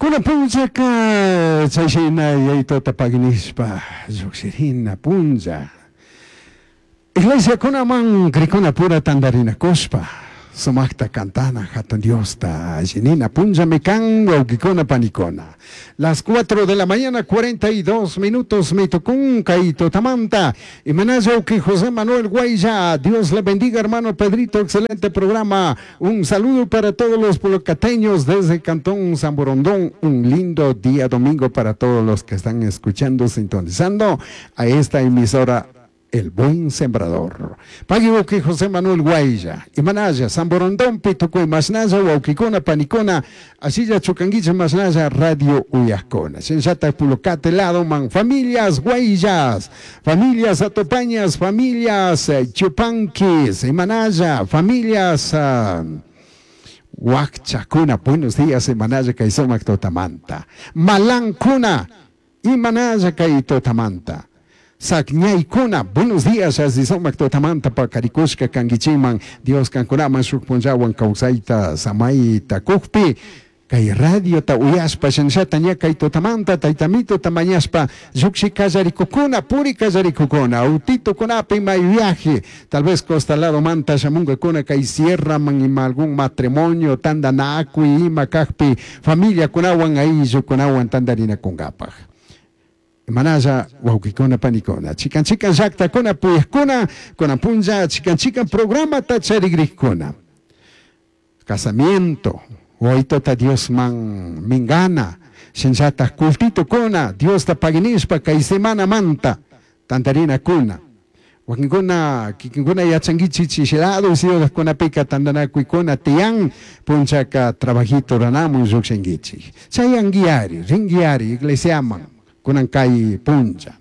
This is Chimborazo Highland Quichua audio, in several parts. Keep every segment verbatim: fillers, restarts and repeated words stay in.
Kuna punchaka chayshina yayituta paginishpa llukshirina punlla. Iglesiakunaman krikuna pura tandarinakushpa sumakta kantana hatun Diosta allinina punllami kan wawqikuna panikuna. Las cuatro de la mañana cuarenta y dos minutos mi tukun kay tutamanta. Imanalla wawqi José Manuel Guaylla, Dios le bendiga hermano Pedrito, excelente programa. Un saludo para todos los polocateños desde Cantón San Borondón. Un lindo día domingo para todos los que están escuchando, sintonizando a esta emisora El Buen Sembrador. Pagui wawqi José Manuel Guaylla, Imanalla, San Borondón, Pitucuy, Masnalla, wawqikuna, panikuna, asilla chukanguicha, Masnalla, Radio Uyajcona. Shinllata Pulocate lado man, familias Guayllas, familias Atopañas, familias, eh, Chupanquis, Imanalla, familias, uh, Huacchacuna, buenos días, Imanalla, Kaisomac, Totamanta. Malancuna, Imanalla, Kaitotamanta. Sacñaykuna, buenos días, así somak totamanta pakarikushka kangichiman, Dios kankunaman shuk punllawan kawsayta samayta kukpi, kay radiota uyashpa shinllata ña kay totamanta taytamito tamañashpa lluqshi kallarikukuna, puri kallarikukuna, autitukunapi may viaje, tal vez costa lado manta shamunkakuna kay sierra man ima algún matrimonio tandanakuy ima kajpi familiakunawan ayllukunawan tandarinakunkapaj. Manaya wawqikuna panikuna, chikan chikan llaqtakuna puyaqkuna, kuna punlla chikan chikan programa tacharigrikkuna. Casamiento, waytota Dios man mingana, shinllata cultito kuna, Dios ta paginishpa kay semana manta, tantarina kuna. Wakinkuna, kikinkuna yachankichik chishilado, ciudadkunapika tantanakuykuna tiyan, punchaka trabajito ranamun llukshinkichik. Chayanguiari, ringuiari, iglesiaman, kunan kay puncha.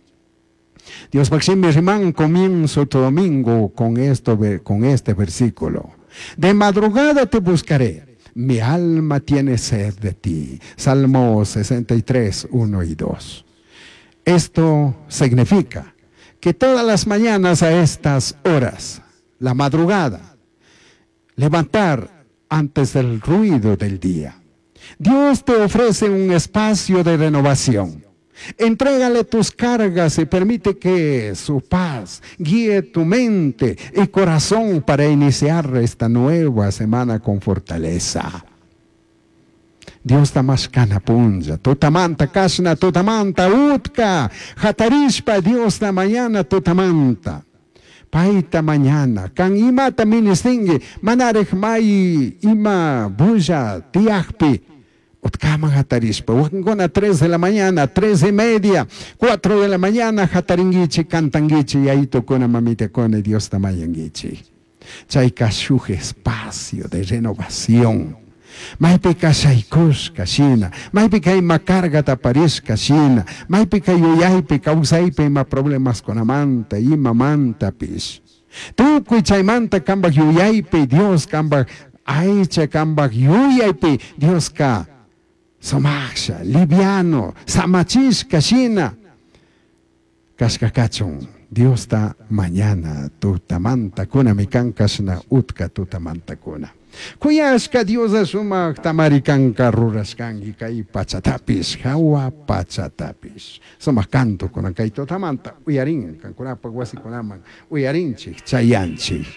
Dios Maxime Rimán comienzo tu domingo con esto, con este versículo. De madrugada te buscaré, mi alma tiene sed de ti. Salmo sesenta y tres, uno y dos. Esto significa que todas las mañanas a estas horas, la madrugada, levantar antes del ruido del día. Dios te ofrece un espacio de renovación. Entrégale tus cargas y permite que su paz guíe tu mente y corazón para iniciar esta nueva semana con fortaleza. Dios tamashkana punlla, tutamanta kashna, tutamanta utka, hatarishpa Dios ta mañana tutamanta. Paita mañana, kan imata ministingi, manarej may ima bulla tiajpi. Utkaman hatarishpa, wakinkuna tres de la mañana, tres y media, cuatro de la mañana, hataringuichi, cantanguichi, yayitokuna, mamitakuna, Dios tamayanguichi. Chayka shuj espacio de renovación. Maypika shaykushka shina, maypika ima carga taparishka shina, maypika yuyaypi, kawsaypi ima problemas kunamanta, imamantapish. Tukuy chaymanta kambaj yuyaypi, Dios kambaj aycha kambaj yuyaypi, Dioska sumaksha, liviano, samachishka shina. Kashkakachun, Diosta mañana tutamanta kuna mikankashna utka tutamanta kuna. Kuyashka Dios sumak tamarikanka rurashkanki kay pachatapis, hawa pachatapis. Sumak canto kunan kay tutamanta uyarin, kankunapa wasikunaman uyarinchik, chayanchik.